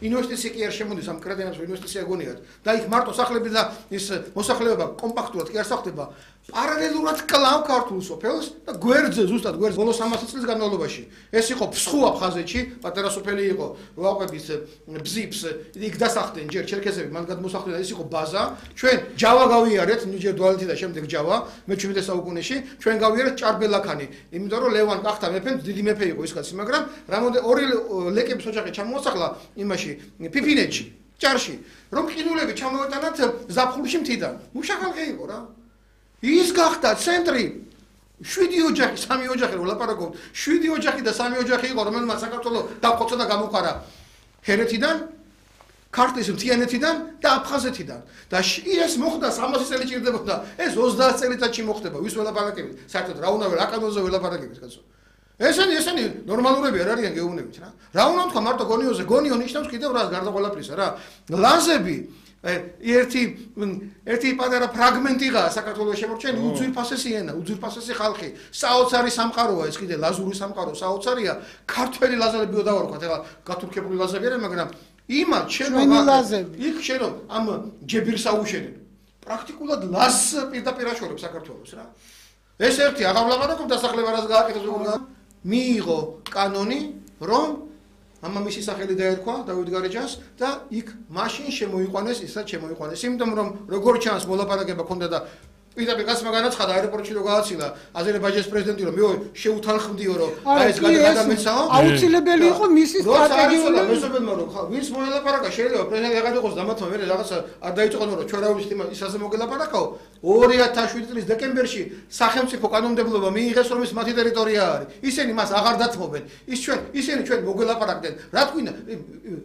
ინვესტიცია კი არ შემოდის ამ კრედიტებს ინვესტიცია გონიათ და იქ მარტო სახლები და ის მოსახლეობა კომპაქტურად კი არ სახდება პარალელურად კლავ ქართულ სოფელს და გვერდზე ზუსტად გვერდზე ბოლო 300 წლის განმავლობაში ეს იყო ფსხუ აფხაზეთში პატარა სოფელი იყო ვაყების ბზიფს იქ დასახდნენ ჯერ ჩერქეზები მან გადმოსახლდნენ ეს იყო ბაზა ჩვენ ჯავა გავიარეთ ნიჯერ დვალეთი და შემდეგ ჯავა მე-17 საუკუნეში ჩვენ გავიარეთ ჭარბელაქანი იმიტომ რომ ლევან კახთა მეფე დიდი მეფე იყო ის კაცი მაგრამ რამოდენ ორი ლეკების ოჯახი ჩამოასახლა იმაში ფიფინეთში ჭარში რომ ყინულები ჩამოეტანათ ზაფხულში მთიდან მუშახალხი იყო რა ის გახდა ცენტრი 7 ოჯახი 3 ოჯახი რო ლაპარაკობთ 7 ოჯახი და 3 ოჯახი იყო რომელმაც საქართველოს დახოცა და გამოყარა ჰერეთიდან ქართლის მთიანეთიდან და აფხაზეთიდან და ეს მოხდა 300 წელი ჭირდებოდა ეს 30 წელიწადში მოხდება ვის ველაპარაკებით საერთოდ რა უნდა აკადოზე ველაპარაკებით კაცო ესენი ნორმალურები არ არიან გეუბნებით რა უნდა თქვა მარტო გონიოზე გონიო ნიშნავს კიდევ რა გარდა ყველაფრისა რა ლაზები ერთი პატარა ფრაგმენტიღაა საქართველოს შემორჩენილი უძვირფასესი ენა, უძვირფასესი ხალხი, საოცარი სამყაროა ეს კიდე ლაზური სამყარო, საოცარია, ქართველი ლაზებიო დავარქვათ, ეხლა გათურქებული ლაზები არა, მაგრამ იმათ იქ შენო ამ ჯებირს აუშენენ. პრაქტიკულად ლაზს პირდაპირ აშორებს საქართველოს რა. ეს ერთი აღარ ვლაპარაკობ დასახლება რას გააკეთებს როგორ მიიღო კანონი, რომ ამამისი სახელი დაერქვა დავით გარეჯანს და იქ მაშინ შემოიყვანეს ისაც შემოიყვანეს იმიტომ რომ როგორ ჩანს მოლაპარაკება ქონდა და პირდაპირ გასმა განაცხადა აეროპორტში რო გააცილა აზერბაიჯანის პრეზიდენტი რომ მე შეუთანხმდიო რომ აი ეს გადამეცაო აუცილებელი იყო მისი სტრატეგიული მეზობელმა რომ ვინც მოლაპარაკა შეიძლება პრეზიდენტი აღარ იყოს დამათმა მე რაღაცა არ დაიწყონო რომ ჩვენ რა ვიცით ისაზე მოგელაპარაკაო 2007 წლის დეკემბერში სახელმწიფო კანონმდებლობა მიიღეს რომ ის მათი ტერიტორია არის ისინი მას აღარ დათმობენ ისინი ჩვენ მოგელაპარაკდნენ რა თქვინა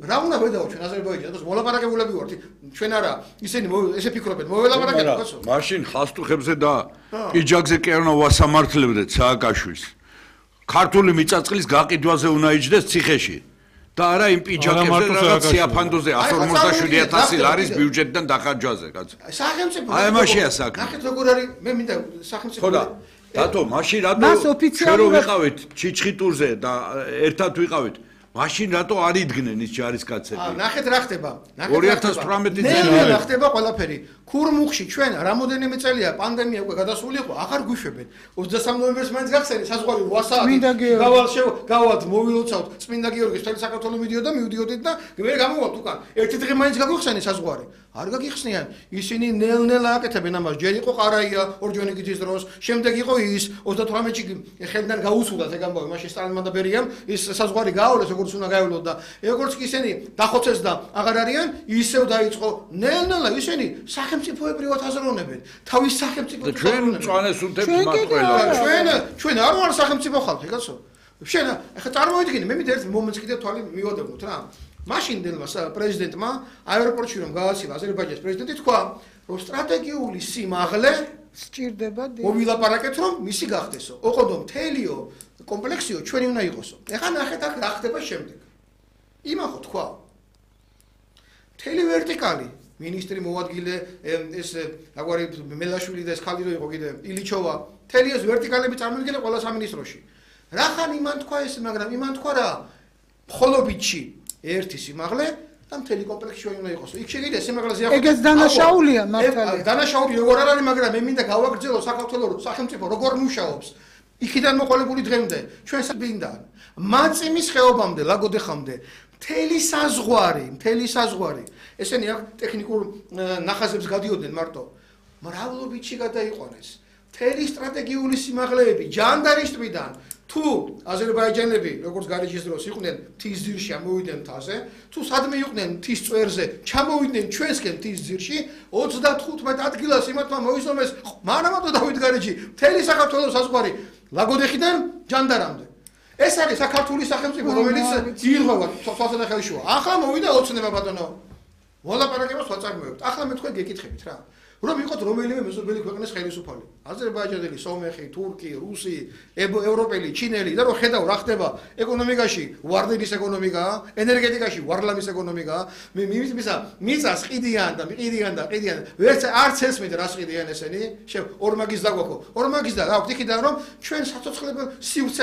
რა უნდა ვედაო ჩვენ აზერბაიჯანს მოლაპარაკებულები ვართ ჩვენ არა ისინი ესე ფიქრობენ მოველაპარაკებთ კაცო მაშინ ხასტუხებზე და პიჯაკზე კი არ უნდა ვასამართლებდეთ სააკაშვილს ქართული მიწაწყლის გაყიდვაზე უნდა იჯდეს ციხეში და არა იმ პიჯაკებზე რაღაც სიაფანდოზე 157,000 ლარის ბიუჯეტიდან დახარჯვაზე კაცო სახელმწიფო აი მაშია საქმე ნახეთ როგორ არის მე მინდა სახელმწიფო ხო და დათო მაშინ რატო ჩვენ რო ვიყავით ჩიჩხიტურზე და ერთად ვიყავით მაშინ რატო არ იდგნენ ის ჯარისკაცები? ნახეთ რა ხდება. 2018 წელი რა ხდება ყველაფერი. ქურმუხში ჩვენ რამოდენიმე წელია პანდემია უკვე გადასული იყო, აღარ გვიშვებენ. 23 ნოემბერს მაინც გახსენე საზღვარი ვასაათი. გავალთ მოვილოცავთ წმინდა გიორგის მთელი საქართველო მიდიოდა მივდიოდით და მე გამოვალთ უკან. ერთი დღე მაინც გაგვიხსენე საზღვარი. არ გაგიხსნიან. ისინი ნელ-ნელა აკეთებენ ამას. ჯერ იყო ყარაია ორჯონიკიძის დროს, შემდეგ იყო ის 38-ში ხელიდან გაუსულათ ეგ ამბავი, მაშინ სტალინმა და ბერიამ ის საზღვარი გაავლეს როგორც უნდა გაევლოთ და როგორც კი ისინი დახოცეს და აღარ არიან, ისევ დაიწყო ნელ-ნელა ისინი სახელმწიფოებრივად აზროვნებენ. თავის სახელმწიფოს ჩვენ წვანეს უთებს მათყველა. ჩვენ არ ვარ სახელმწიფო ხალხი, კაცო. შენ ახლა წარმოიდგინე, მე მით ერთ მომენტს კიდე თვალი მივადევნოთ რა. მაშინდელმა პრეზიდენტმა აეროპორტში რომ გააცილა აზერბაიჯანის პრეზიდენტი თქვა, რომ სტრატეგიული სიმაღლე სჭირდება მოვილაპარაკეთ რომ მისი გახდესო. ოღონდ მთელიო კომპლექსიო ჩვენი უნდა იყოსო. ეხლა ნახეთ აქ რა ხდება შემდეგ. იმახო თქვა. მთელი ვერტიკალი მინისტრი მოადგილე ეს აგვარი მელაშვილი და ეს ხალი რო იყო კიდე ილიჩოვა. მთელი ეს ვერტიკალები წარმოვიდგინე ყველა სამინისტროში. რახან იმან თქვა ეს, მაგრამ იმან თქვა რა მხოლობითში ერთი სიმაღლე და მთელი კომპლექსი ჩვენ უნდა იყოსო. იქ შეგიძლია სიმაღლეზე ახლა. ეგეც დანაშაულია მართალია. დანაშაული როგორ არ არის, მაგრამ მე მინდა გავაგრძელო საქართველოს სახელმწიფო როგორ მუშაობს. იქიდან მოყოლებული დღემდე ჩვენ საბინდან მაწიმის ხეობამდე ლაგოდეხამდე მთელი საზღვარი ესენი აქ ტექნიკურ ნახაზებს გადიოდნენ მარტო მრავლობითში გადაიყვანეს მთელი სტრატეგიული სიმაღლეები ჯანდარის ტბიდან თუ აზერბაიჯანელები როგორც გარეჯის დროს იყვნენ მთის ძირში ამოვიდნენ მთაზე თუ სადმე იყვნენ მთის წვერზე ჩამოვიდნენ ჩვენსკენ მთის ძირში 35 ადგილას იმათმა მოიზომეს მანამატო დავით გარეჯი მთელი საქართველოს საზღვარი ლაგოდეხიდან ჯანდარამდე ეს არის საქართველოს სახელმწიფო რომელიც ირღვევა თვალსაჩინო ხელშუა ახლა მოვიდა ოცნება ბატონო მოლაპარაკებას ვაწარმოებთ ახლა მე თქვენ გეკითხებით რა რომ იყოთ რომელიმე მეზობელი ქვეყნის ხელისუფალი აზერბაიჯანელი, სომეხი, თურქი, რუსი, ევროპელი, ჩინელი და რომ ხედავ რა ხდება ეკონომიკაში ვარდების ეკონომიკაა, ენერგეტიკაში ვარლამის ეკონომიკაა მე მიწას ყიდიან და ვერც არც ესმით რას ყიდიან ესენი ორ მაგის დაგვაქვს და აქვთ იქიდან რომ ჩვენ საცოცხლებელ სივრცეს